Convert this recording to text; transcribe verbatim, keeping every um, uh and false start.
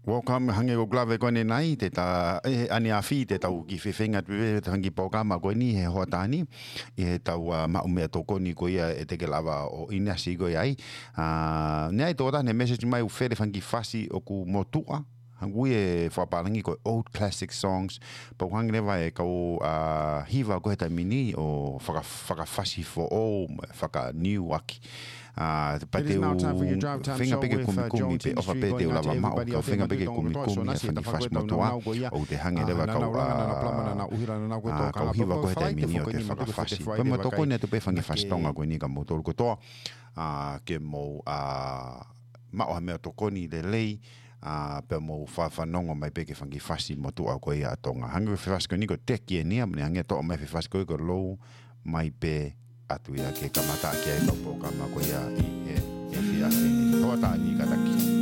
Welcome, hangē ko e lave ko eni ʻanenai, te ta, ʻe, ʻaneafi, te tau kiʻi fefeinga atu pē he fanga kiʻi polokalama ko eni he hoʻatā ni, ʻi heʻetau, ʻa, maʻu meʻatokoni ko ia ʻe te ke lava ʻo ʻinasi ko ia ai. ʻA, naʻe ʻi ai e tokotaha naʻe message mai ʻo fele fanga kiʻi fasi ʻoku motuʻa, hangē ko e fakapālangi ko e old classic songs, pea ʻoku hangē leva e kau, ʻa, hiva ko ē he taimi ni ʻo faka-, fakafasi foʻou, faka-new ʻaki. ʻA, pea te u feinga pē ke kumikumi pē, ʻofa pē te u lava maʻu, ka u feinga pē ke kumikumi ʻa e fanga kiʻi fasi motuʻa, ʻoku te hangē leva e kau, ʻa, kau hiva ko ē he taimi ni ʻo te fakafasi. Pea mo tokoni atu pē fanga kiʻi fasi Tonga ko eni kia moutolu kotoa, ʻa, ke mou, ʻa, maʻu ha meʻatokoni lelei, ʻa, pea mou fa-, fanongo mai pē ki he fanga kiʻi fasi motuʻa ko ia ʻa Tonga. Hangē ko e fasi ko eni ko e teki eni ia, mo ne hangē toʻo mai e fanga kiʻi fasi ko ia ko e lou mai pē atu ia ke kamata ki ai e kau polokalama ko ia ʻi he, he efiafi ni. Hoʻatā ni kātaki.